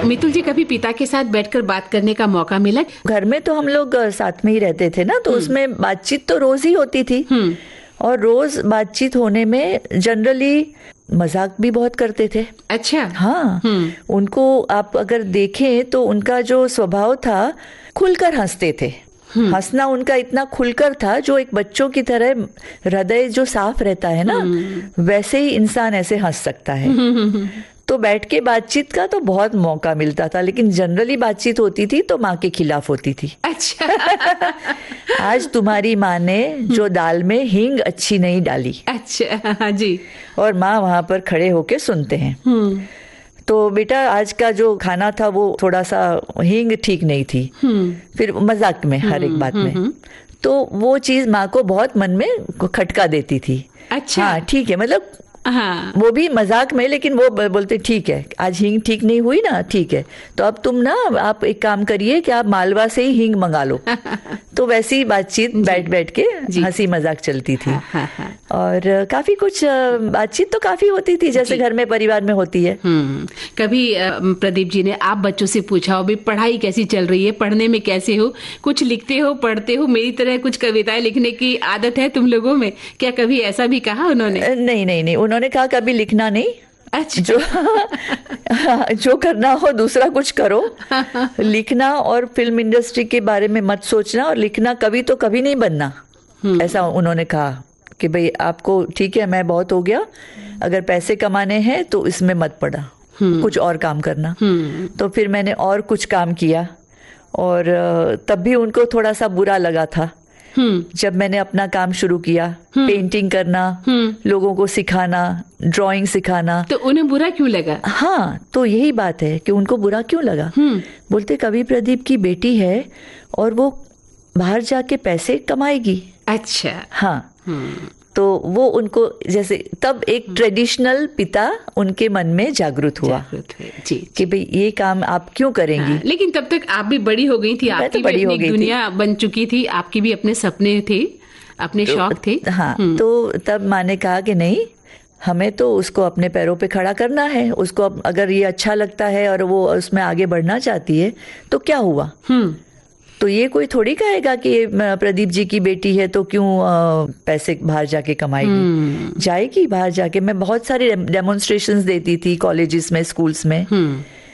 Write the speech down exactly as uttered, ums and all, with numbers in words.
मितुल जी, कभी पिता के साथ बैठकर बात करने का मौका मिला? घर में तो हम लोग, अ, साथ में ही रहते थे ना, तो उसमें बातचीत तो रोज ही होती थी। और रोज बातचीत होने में जनरली मजाक भी बहुत करते थे। अच्छा। हाँ। उनको आप अगर देखें तो उनका जो स्वभाव था, खुलकर हंसते थे। हंसना उनका इतना खुलकर था, जो एक बच्चों की तरह हृदय जो साफ रहता है ना, वैसे ही इंसान ऐसे हंस सकता है। तो बैठ के बातचीत का तो बहुत मौका मिलता था, लेकिन जनरली बातचीत होती थी तो माँ के खिलाफ होती थी। अच्छा। आज तुम्हारी माँ ने जो दाल में हींग अच्छी नहीं डाली। अच्छा, हाँ जी। और माँ वहां पर खड़े होके सुनते हैं। तो बेटा, आज का जो खाना था, वो थोड़ा सा हींग ठीक नहीं थी। फिर मजाक में, हर एक बात में। तो वो चीज माँ को बहुत मन में खटका देती थी। अच्छा। हाँ, ठीक है, मतलब, हाँ। वो भी मजाक में, लेकिन वो ब-, बोलते, "ठीक है, आज हींग ठीक नहीं हुई ना, ठीक है, तो अब तुम ना, आप एक काम करिए कि आप मालवा से ही हींग मंगा लो।" तो वैसी ही बातचीत जी। बैठ बैठ के जी। हंसी मजाक चलती थी। हाँ, हाँ, हाँ। और काफी कुछ, अ, बातचीत तो काफी होती थी, जैसे जी। घर में, परिवार में होती है। हम्म। कभी, अ, प्रदीप जी ने आप बच्चों से पूछा हो, "भाई, पढ़ाई कैसी चल रही है, पढ़ने में कैसे हो, कुछ लिखते हो, पढ़ते हो, मेरी तरह कुछ कविताएं लिखने की आदत है तुम लोगों में?" क्या कभी ऐसा भी कहा उन्होंने? अ, नहीं, नहीं, नहीं, उन्होंने कहा, "कभी लिखना नहीं।" अच्छा। जो, जो करना हो, दूसरा कुछ करो। लिखना और फिल्म इंडस्ट्री के बारे में मत सोचना, और लिखना कभी तो कभी नहीं बनना, ऐसा उन्होंने कहा कि भाई, आपको, ठीक है, मैं बहुत हो गया, अगर पैसे कमाने हैं तो इसमें मत पड़ा, कुछ और काम करना। तो फिर मैंने और कुछ काम किया, और अ, तब भी उनको थोड़ा सा बुरा लगा था। जब मैंने अपना काम शुरू किया, पेंटिंग करना, लोगों को सिखाना, ड्राइंग सिखाना। तो उन्हें बुरा क्यों लगा? हाँ, तो यही बात है कि उनको बुरा क्यों लगा। बोलते, "कवि प्रदीप की बेटी है और वो बाहर जाके पैसे कमाएगी।" अच्छा। हाँ। तो वो उनको, जैसे, तब एक ट्रेडिशनल पिता उनके मन में जागरूक हुआ। जागरूक हुए, जी, कि जी। भाई, ये काम आप क्यों करेंगी? हाँ, लेकिन तब तक आप भी बड़ी हो गई थी, मैं तो आपकी भी बड़ी अपनी हो एक गई थी। दुनिया बन चुकी थी, आपके भी अपने सपने थे, अपने तो, शौक थे। हाँ, हम्म। तो तब माँ ने कहा कि नहीं, हमें तो उसको अपने पैरों पे खड़ा करना है, उसको अब अगर ये अच्छा लगता है और वो उसमें आगे बढ़ना चाहती है, तो क्या हुआ? हम्म। तो ये कोई थोड़ी कहेगा कि, "म, प्रदीप जी की बेटी है, तो क्यों, अ, पैसे बाहर जाके कमाएगी?" हम्म। जाएगी बाहर जाके। मैं बहुत सारे डेम-, डेमोन्स्ट्रेशंस देती थी कॉलेजेस में, स्कूल्स में। हम्म।